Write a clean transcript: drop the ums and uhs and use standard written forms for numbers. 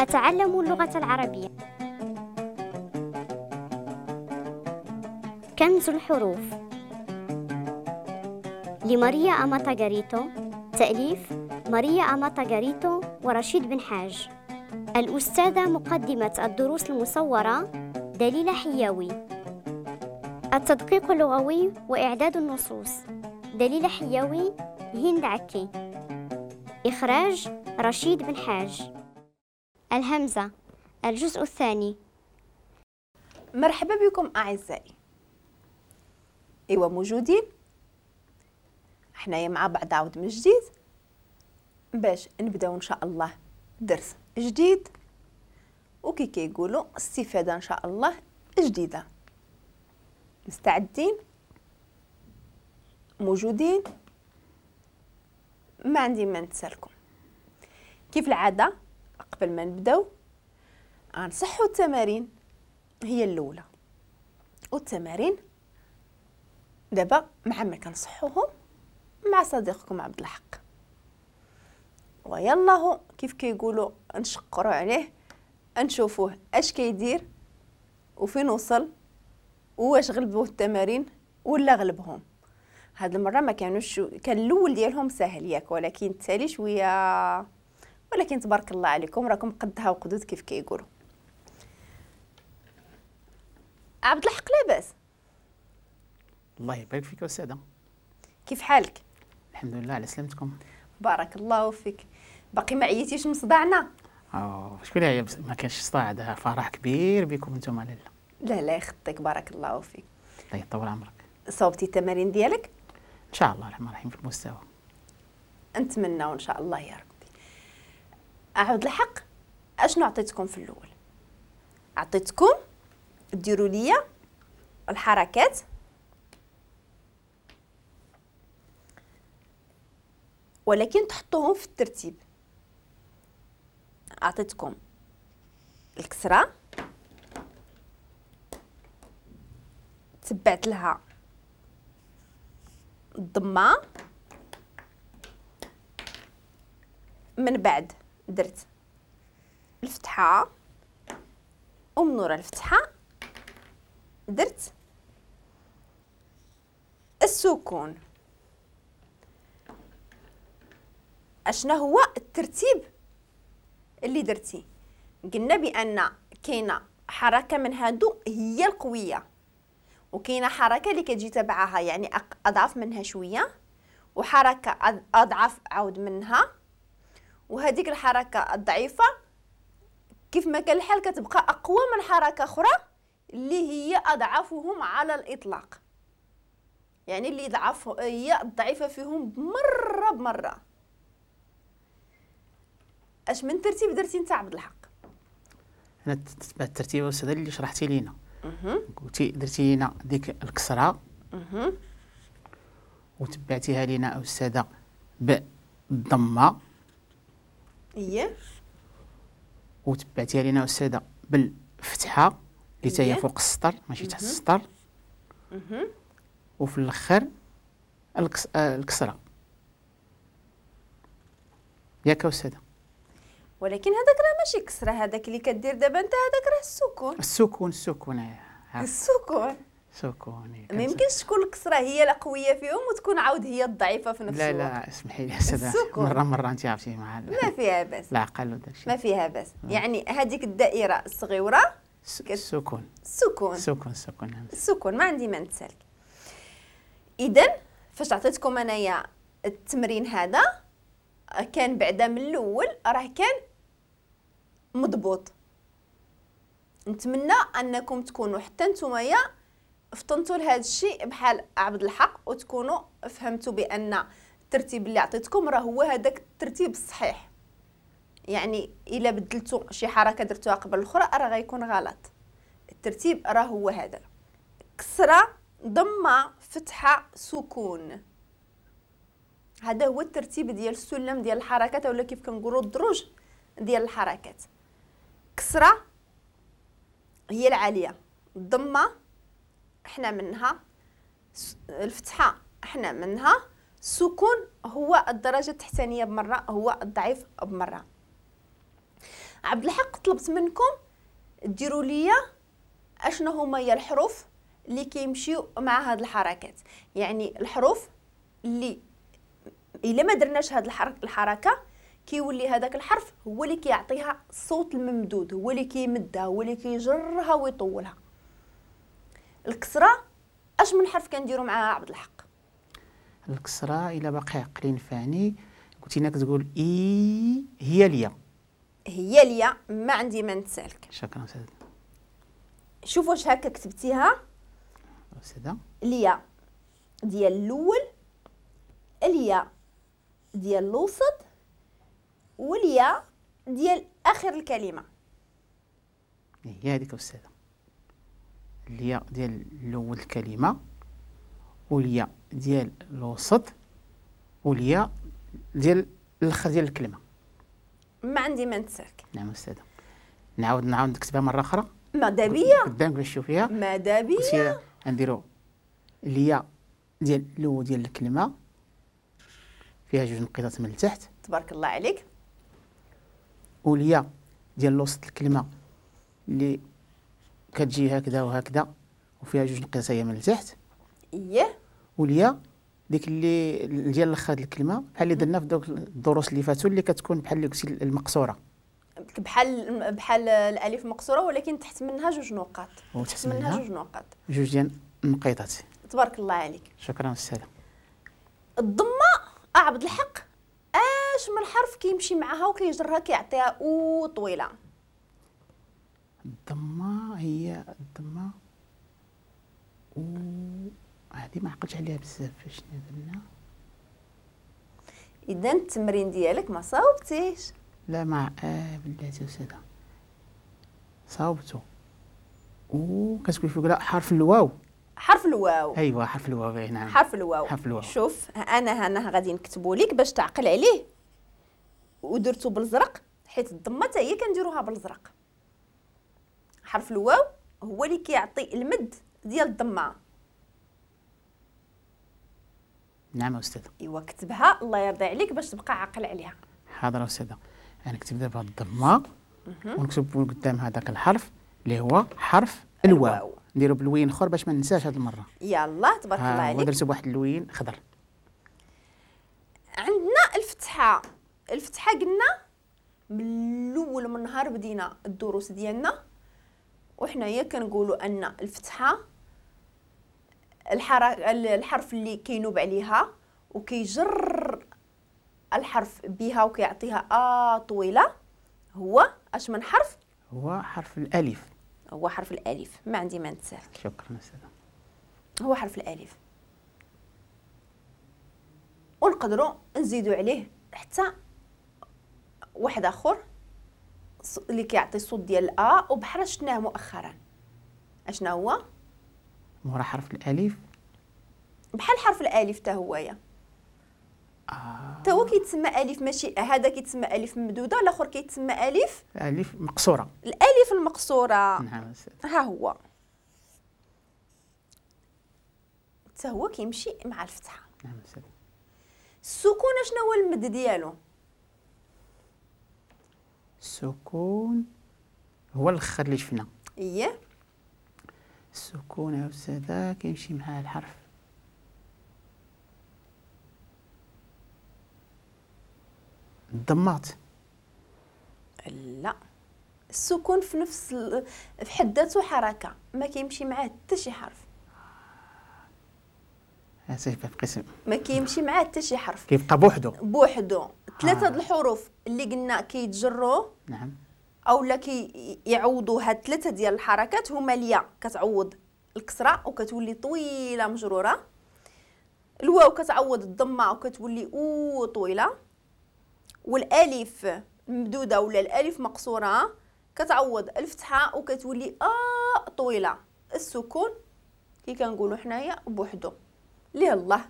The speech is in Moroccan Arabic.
أتعلم اللغة العربية. كنز الحروف لماريا أماتا غاريتو، تأليف ماريا أماتا غاريتو ورشيد بن حاج. الأستاذة مقدمة الدروس المصورة دليلة حياوي. التدقيق اللغوي وإعداد النصوص دليلة حياوي، هند عكي. إخراج رشيد بن حاج. الهمزة، الجزء الثاني. مرحبا بكم أعزائي. إيوا موجودين حنايا مع بعض عاود من جديد باش نبداو إن شاء الله درس جديد، وكي كيقولوا استفادة إن شاء الله جديدة. مستعدين؟ موجودين؟ ما عندي ما نتسالكم. كيف العادة قبل ما نبداو غنصحوا التمارين هي الأولى، والتمارين دابا مع ما كنصحوهم مع صديقكم عبد الحق، ويلاه كيف كيقولوا نشقروا عليه، نشوفوه اش كيدير وفين وصل واش غلبوه التمارين ولا غلبهم. هاد المرة ما كانوش، كان الاول ديالهم سهل ياك، ولكن التالي شوية، ولكن تبارك الله عليكم راكم قدها وقدود كيف كيقولوا. عبد الحق لاباس؟ الله يبارك فيك أستاذة. كيف حالك؟ الحمد لله على سلامتكم. بارك الله فيك. باقي ما عييتيش من صداعنا؟ شكون هي ما كانش صداع، هذا فرح كبير بكم انتم. لاله لا لا يخطيك، بارك الله فيك. الله يطول عمرك. صوبتي التمارين ديالك؟ ان شاء الله الرحمن الرحيم في المستوى. نتمنى ان شاء الله يا ربي. عبد الحق اشنو عطيتكم في الاول؟ عطيتكم ديروا ليا الحركات ولكن تحطوهم في الترتيب. اعطيتكم الكسرة، تبعت لها الضمة، من بعد درت الفتحة، ومن ورا الفتحة درت السكون. اشنا هو الترتيب اللي درتي؟ قلنا بان كاينه حركة من هادو هي القوية، وكاينه حركة اللي كتجي تبعها يعني اضعف منها شوية، وحركه اضعف عاود منها، وهذيك الحركة الضعيفة كيف ما كان الحال كتبقى اقوى من حركة اخرى اللي هي اضعفهم على الاطلاق، يعني اللي ضعف هي الضعيفة فيهم بمرة بمرة. اش من ترتيب درتي انت عبد الحق؟ انا تتبعت الترتيب استاذ اللي شرحتي لينا. قلتي درتي لينا ديك الكسرة وتبعتيها لينا استاذه بالضمه، اييه، وتبعتيها لينا استاذه بالفتحة اللي حتى هي فوق السطر ماشي تحت السطر، وفي الاخر الكسرة ياك استاذه. ولكن هذاك راه ماشي كسره، هذاك اللي كدير دابا انت هذاك راه السكون. السكون السكون السكون سكون. ما يمكنش تكون الكسرة هي القوية فيهم وتكون عاود هي الضعيفة في نفس لا الوقت. لا لا اسمحي لي استاذه، مرة مرة انت عرفتي مع ما فيها باس، العقل وداك الشيء ما فيها باس. يعني هذيك الدائرة الصغيرة السكون السكون السكون السكون السكون، ما عندي ما نتسالك. اذا فاش عطيتكم انايا التمرين هذا كان بعدا من الاول راه كان مضبوط. نتمنى انكم تكونوا حتى نتوما فطنتوا لهذا الشيء بحال عبد الحق، وتكونوا فهمتوا بان الترتيب اللي عطيتكم راه هو هذاك الترتيب الصحيح. يعني الا بدلتوا شي حركة درتوها قبل الاخرى راه غيكون غلط. الترتيب راه هو هذا: كسره، ضمه، فتحه، سكون. هذا هو الترتيب ديال السلم ديال الحركات، ولا كيف كنقولوا الدروج ديال الحركات. كسره هي العالية، الضمة احنا منها، الفتحة احنا منها، السكون هو الدرجة التحتانيه بمرة، هو الضعيف بمرة. عبد الحق طلبت منكم ديروا لي اشنو هما هي الحروف اللي كيمشيو مع هاد الحركات، يعني الحروف اللي الا ما درناش هاد الحركة كيولي هذاك الحرف هو اللي كيعطيها الصوت الممدود، هو اللي كيمدها، هو اللي كيجرها ويطولها. الكسرة اش من حرف كنديروا معاها عبد الحق؟ الكسرة الا باقي عقلي نفعني قلتي لنا كتقول اي هي ليا، هي ليا، ما عندي ما نتسالك. شكرا استاذ. شوف واش هكا كتبتيها استاذه. ليا ديال الاول، اليا ديال الوسط، واليا ديال اخر الكلمة. هي هذيك استاذه، اليا ديال الاول الكلمة، واليا ديال الوسط، واليا ديال الاخر ديال الكلمة. ما عندي ما نتسالك. نعم استاذه. نعاود نكتبها مرة اخرى. ماذا بيا قدامك باش تشوفيها. ماذا بيا نديرو اليا ديال الاول ديال الكلمة فيها جوج نقيطات من التحت. تبارك الله عليك. واليا ديال الوسط الكلمة اللي كتجي هكذا وهكذا وفيها جوج نقيطات هي من التحت. اييه. واليا ديك اللي ديال الاخر الكلمة بحال اللي درنا في دوك الدروس اللي فاتوا اللي كتكون بحال اللي قلتي المقصورة، بحال الالف مقصورة ولكن تحت منها جوج نقاط، وتحت منها جوج نقاط، جوج ديال النقيطات. تبارك الله عليك. شكرا استاذه. الضمة عبد الحق اش من حرف كيمشي معها وكيجرها كيعطيها او طويلة؟ الضمة هي الضمة و هذه ما عقلتش عليها بزاف فاش درنا. اذا التمرين ديالك ما صاوبتيش. لا ما بلاتي استاذه صاوبتو. و كتقول فوق لا حرف الواو. حرف الواو. ايوا حرف الواو. نعم حرف الواو. حرف الواو. شوف انا غادي نكتبو لك باش تعقل عليه، ودرتو بالزرق حيت الضمة حتى هي كنديروها بالزرق. حرف الواو هو اللي كيعطي المد ديال الضمة. نعم استاذه. ايوا كتبها الله يرضي عليك باش تبقى عاقل عليها. حاضر استاذه. انا نكتب دابا الضمة ونكتب قدام هذاك الحرف اللي هو حرف الواو. نديرو بلوين اخر باش ما ننساش هذه المرة. يلا تبارك الله عليك. ودرتو بواحد اللوين خضر. عندنا الفتحة. الفتحة قلنا من الاول من نهار بدينا الدروس ديالنا وحنايا كنقولوا ان الفتحة الحرف اللي كينوب عليها وكيجر الحرف بها وكيعطيها طويلة هو اش من حرف؟ هو حرف الالف. هو حرف الالف. ما عندي ما نتسالك. شكرا استاذه. هو حرف الالف، ونقدروا نزيدوا عليه حتى واحد اخر اللي كيعطي الصوت ديال ا وبحال شفناه مؤخرا. اشنا هو؟ مورا حرف الالف بحال حرف الالف حتى هويا. حتى هو كيتسمى الف، ماشي هذا كيتسمى الف ممدوده، الاخر كيتسمى الف مقصورة. الالف المقصورة. نعم ها هو حتى هو كيمشي مع الفتحة. نعم السكون شنو هو المد ديالو؟ السكون هو الاخر اللي شفنا. اييه السكون يا استاذه كيمشي مع الحرف الضمات. لا، السكون في نفس في حد ذاته حركة، ما كيمشي معاه حتى شي حرف. ما كيمشي معاه حتى شي حرف، كيبقى بوحدو بوحدو. ثلاثة د الحروف اللي قلنا كيتجروا، نعم، او لا كيعوضوا هاد ثلاثة ديال الحركات، هما الياء كتعوض الكسرة وكتولي طويلة مجرورة، الواو كتعوض الضمة وكتولي او طويلة، والالف ممدوده ولا الالف مقصورة كتعوض الفتحة وكتولي طويلة. السكون كي كنقولوا حنايا بوحدو. ليه الله.